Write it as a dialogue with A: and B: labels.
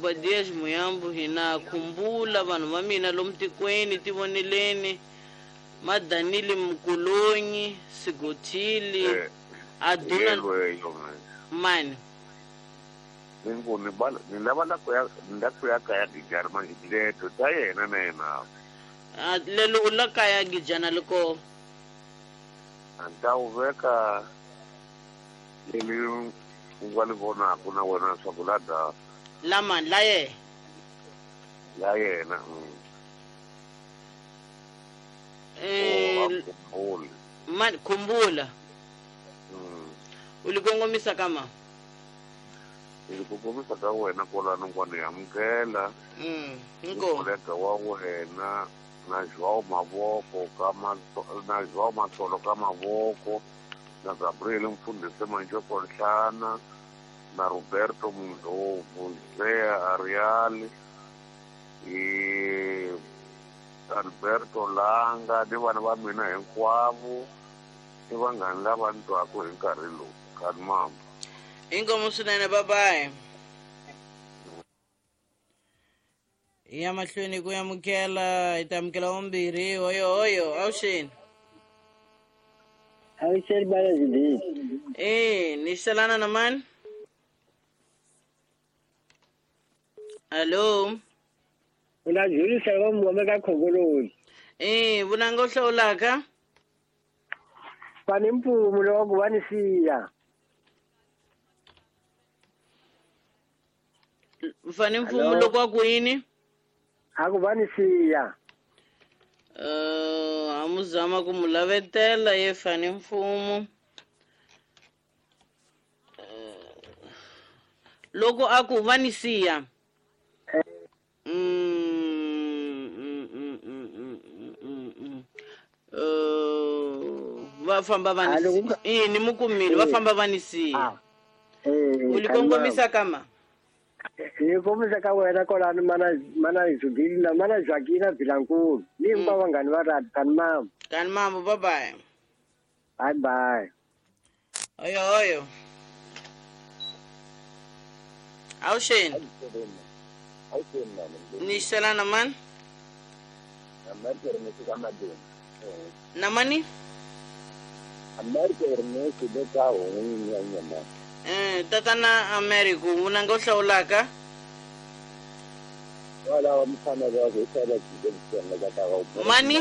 A: Obadias Muyambu hina khumbula vanhu va mina lomu tikweni tivoneleni Madanile Mkulonyi Sigothili Aduna mani
B: ni ku ni ba ni lava la ku ya ni la ku ya kaya Gijana manje leto ta yena na yena
A: a lelo u la kaya Gijana liko
B: a ni ta wu veka leli u nga li vonaku na wena leswaku la da
A: la mani la yena
B: la yena
A: eh mani khumbula u li kongomisa ka ma
B: ni ku kongomisa ka wena kwalano kwa ni amukela kolega wa wena na João Mavoko ka na João Matsolo ka Mavoko na Gabriel Mfundhisi Manjoko Nhlana na Roberto Mndlovu Zea Ariali i Alberto Langa ni vana va mina hinkwavo i vanghani lava ni twaku hi nkarhi lowu kani mamba
A: inkomu swinene bye-bye ya mahlweni ku amukela hi ta amukela vumbirhi hoyo hoyo avuxeni
C: avuxeni bana zibili
A: e ni xelana na mani hallo
C: una Julisa wa muhome ka khongoloni
A: e vunanga u hlawulaka
C: fani mpfumu loko va ni siya
A: fani mpfumu loko a ku yini
C: a ku va ni siya
A: a mu zama ku mu lavetela ye fani mfumu loko a ku va ni siya va famba va ni i ni mu kumile va famba va ni siya u li kongomisa kama
C: ni kombisa ka wena kwalano mana Zubili na mana Joaquina Vilankulu ni hinkwavo vanghani va radi kani mama
A: kani mama bye bye
C: bye bye
A: oyo oyo avuxeni ni xelana mani na mani tatana America vunanga u hlawulaka mani